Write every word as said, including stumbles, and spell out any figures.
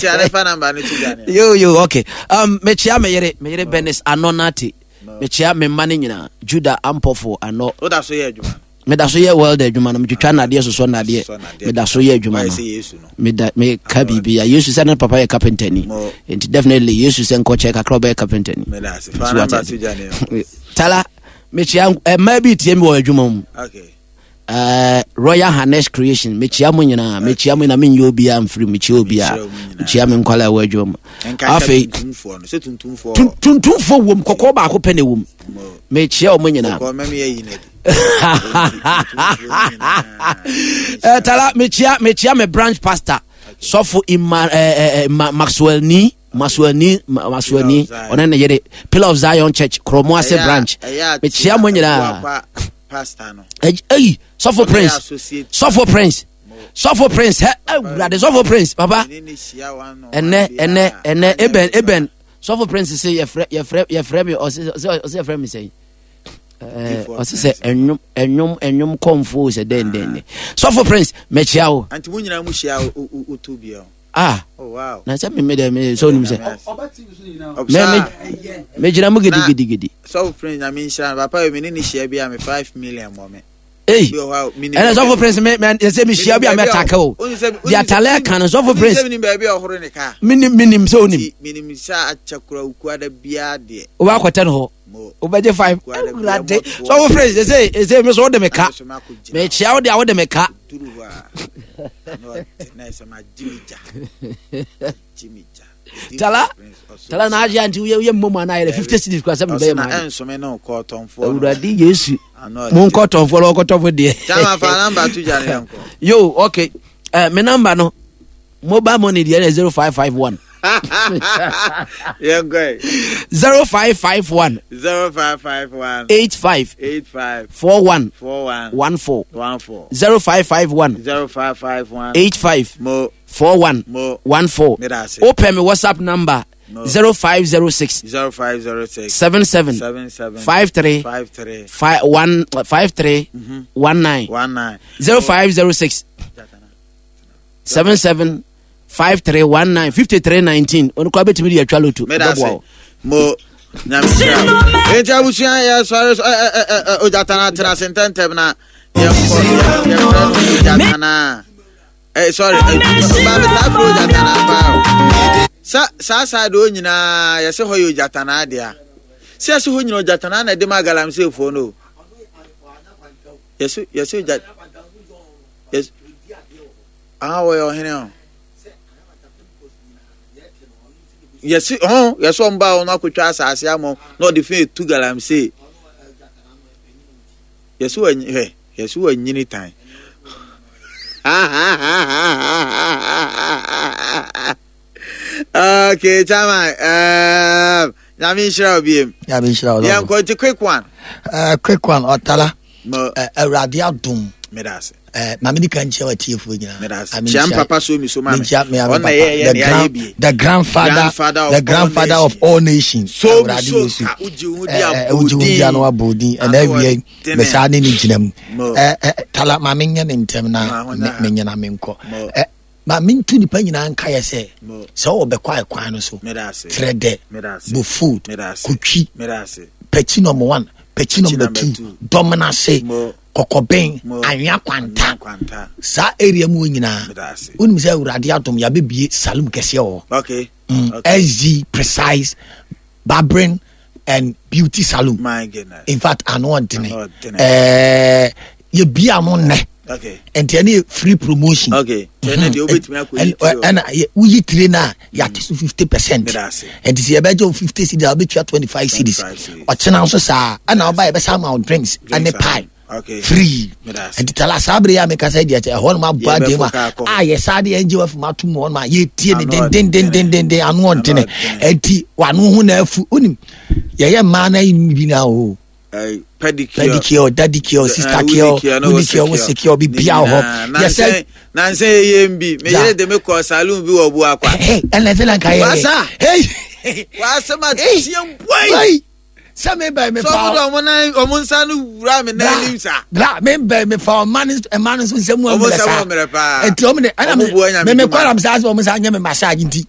Kyia ne fa number no to gya ne. Yo yo, okay. Um, mekyia me yere, me yere Benis Anɔ Nate. Mekyia me mma no nyinaa, Judah Ampɔfo Anɔ. Woda so yɛ adwuma? Meda so yɛ world adwuma no, metwitwa nnadeɛ, sosɔ nnadeɛ. Meda so yɛ adwuma no. Meda meka biribi a Yesu sɛ ne papa yɛ carpenter ni. Nti definitely Yesu sɛ nkɔkyɛ kakra ɔbɛyɛ carpenter ni. Tala, mekyia mmaa bi tie mi wɔ adwuma mu. Okay. Uh, Royal Harness Creation, mekyia mo nyinaa, mekyia mo nyinaa, menyɛ obiara mfiri, mekyia obiara, mekyia me nkwala ɛwɔ adwuma mu. Afei tuntumfoɔ wom, kɔkɔɔ baako pɛ na ɛwom. Mekyia ɔmo nyinaa. uh, tala mekyia mekyia me branch pastor, Sɔfo Ima, eh, eh, Ma, Maxwell ni Maxwell ni Maxwell ni, ɔne ne yere, Pillar of Zion Church, Kromo ase branch. Mekyia mo nyinaa. Eyi Sɔfo Prince, Sɔfo Prince, Sɔfo Prince, hɛ, Awurade, Sɔfo Prince papa. Ɛnɛ ɛnɛ ɛnɛ eben eben Sɔfo Prince sɛ yɛfrɛ yɛfrɛ yɛfrɛ mi, ɔsɛ ɔsɛ yɛfrɛ mi sɛn, ɔsɛ sɛ ɛnwom ɛnwom ɛnwom kɔnfo sɛ dɛn dɛn ne. Sɔfo Prince, mɛkyia wo. Anti mo nyinaa mo hyia o to bi o. Ah. Oh wow. Na sɛ mímí dɛ mi sɛ onim sɛ mɛ mɛ mɛ gyina mu gidigidigidi. Sɔfo Prince, Nyame nhyira no papa yi, mi ne ne hyia bi a mi five million mɔ mi. Ei, ɛnɛ Sɔfo Prince, me mɛ sɛ mi hyia bi a mɛ take o di atalɛ kan no. Sɔfo Prince, minim baabi a ɔhoro ne kaa. Minim, minim sɛ onim. Minim sɛ akyɛ kura okuada biara deɛ. O b'a kɔtɛ no hɔ, o bɛ gye five. Awurade, Sɔfo Prince, ɛsɛ ɛsɛ mi so o de mi ka, mɛ kyia o de a o de mi ka. Duru hɔ a na ɔte na ɛsɛ ma gye mi gya gye mi gya. Tala tala na agye anti woyɛ mmom ana ayɛ fifty cedis kora sɛ mebɛyɛ ma. Ɛnsome ne nkɔtɔnfoɔ. Awurade Yesu, mo nkɔtɔnfoɔ na ɔkɔtɔfo deɛ. Chama, fa number to gya ne yɛnkɔ. Yo, okay, uh, me number no, mobile money deɛ, yɛ zero five five one. Yɛnkɔ. Zero five five one. Zero five five one. Eight five. Eight five. Four one. Four one. One four. One four. Zero five five one. Zero five five one. Eight five. Mo. Four one. Mo. One four. Medase. Wopɛ me WhatsApp number? No. Zero five zero six. Zero five zero six. Seven seven. Seven seven. Five three. Five three. Five one five three one nine. One nine. Zero five zero six seven seven five three one nine fifty three nineteen. Ɔno kora bɛtumi de atwa loto. Medase mo, Nyame nhyira wo. Enti abusua, yɛsɔre so ɛ ɛ ɛ ɛ Ogyatana, tena ase ntɛntɛm na yɛnkɔ. Yɛfrɛ no Ogyatana. ɛ sorry, ɛ ba mi taa fɛ Ogyatana paa o. Sa saa saa de o nyinaa yɛsɛ hɔ yɛ Ogyatana deɛ a sɛ yɛsɛ hɔ nyinaa Ogyatana na ɛde ma galamseyfoɔ no o. Yɛsɛ yɛsɛ ogya yɛsɛ ah, wɔyɛ ɔhene o. Yɛsi hɔn yɛsɛ ɔmo ba ɔno akotwa asase ama wɔn na ɔde fi etu galamsey. Yɛsi wɔ hɛ, yɛsi wɔ nyini tan. Okay, Chama, um, Nyame nhyira wo biem. Nyame nhyira wo. Yɛnkɔ nti, quick one. Uh, quick one, ɔtala. Mo. Uh, Awurade adom. Meda ase. Uh, maame di kan kyia watiefoɔ nyinaa. Meda ase. Kyia papa so mi so ma me. Menkyia me ame Ɔna papa. yɛ yɛ The, ne ayɛ grand, bie. the grandfather, Grandfather of the grandfather all of all nations. So mi Awurade so Yesu. ka wogye wo ho di. Eh, eh, wogye wo di ano abɔdin ɛna Ano awie ɔdene. mesaa ne ne gyina mu. Mo. Eh, eh, tala, maame nyɛ ne ntɛm na Ma ho me- na. menyina menkɔ. Mo. Eh, ma mentu nipa nyinaa nkaeɛ sɛ Mo. sɛ wowɔ bɛkɔ a ɛkwan no so Meda ase. trɛ dɛ Meda ase. Bofood Meda ase. Kotwi Meda ase. Pɛkyi number one, pɛkyi number number two, two. Dɔmnase, Mo. Kɔkɔbɛn, Mo. Anwea Kwanta. Anwea Kwanta. Saa area mu hɔ nyinaa, Meda ase. wonim sɛ Awurade adom, yɛabɛbie saloon kɛseɛ wɔ hɔ. Okay. mm, Okay. S G Precise Barbering and Beauty Salon. My goodness. In fact, ano ɔdene. Ano ɔdene. ɛɛ yɛbia no nnɛ. Okay. Nti ɛne yɛ free promotion. Okay. Kyɛ ne deɛ wobɛtumi akɔyi Ɛn- tiri o. Ɛna yɛ- woyi tire no a, yɛate so fifty percent. Meda ase. Nti sɛ yɛbɛgye wo fifty cedis a, wobɛtua twenty-five cedis. twenty-five cedis. Ɔkyena nso saa, ɛna woba, yɛbɛsa ama wo drinks ɛne Drinks. pie Okay. free. Meda ase. Nti tala, saa bere yi a meka sɛ deɛ kyɛ ɛhɔ nom abɔ adeɛ mu Yɛbɛfo kaa a kɔ hɔ. a yɛsa de yɛngye wafum ato mu hɔ nom a yɛtie ne Ano dendendendenden, ano ɔdene. Ano ɔdene. Ɛnti wano ho na afu, wonim yɛyɛ mmaa no ayi bi na o Eh, pedicure. Pedicure, daddycure, sister cure, wonicure, wosecure, bibia wɔ hɔ. Yɛsɛ Nansɛ yɛyɛ m bi Ja. meyere de me kɔ saloon bi wɔ Buakwa. Ɛnɛ sɛ na nka yɛ Wasa. Hey! Wasɛm Hey! ateɛ bwai. Wai! Sɛ mebɛn me sɛ fa ɔmo de ɔmo nan, ɔmo nsa no wura me nan anim sa. Bra, mebɛn me fa ɔma no, ɛma no nso nsɛm mu Ɔmo ammerɛ nsɛm saa. ɔmmerɛ paa. Nti ɔmo de ɛna Ɔmo bua Nyame me me dwuma. kɔram saa sɛ ɔmo sa nyɛ me massage nti.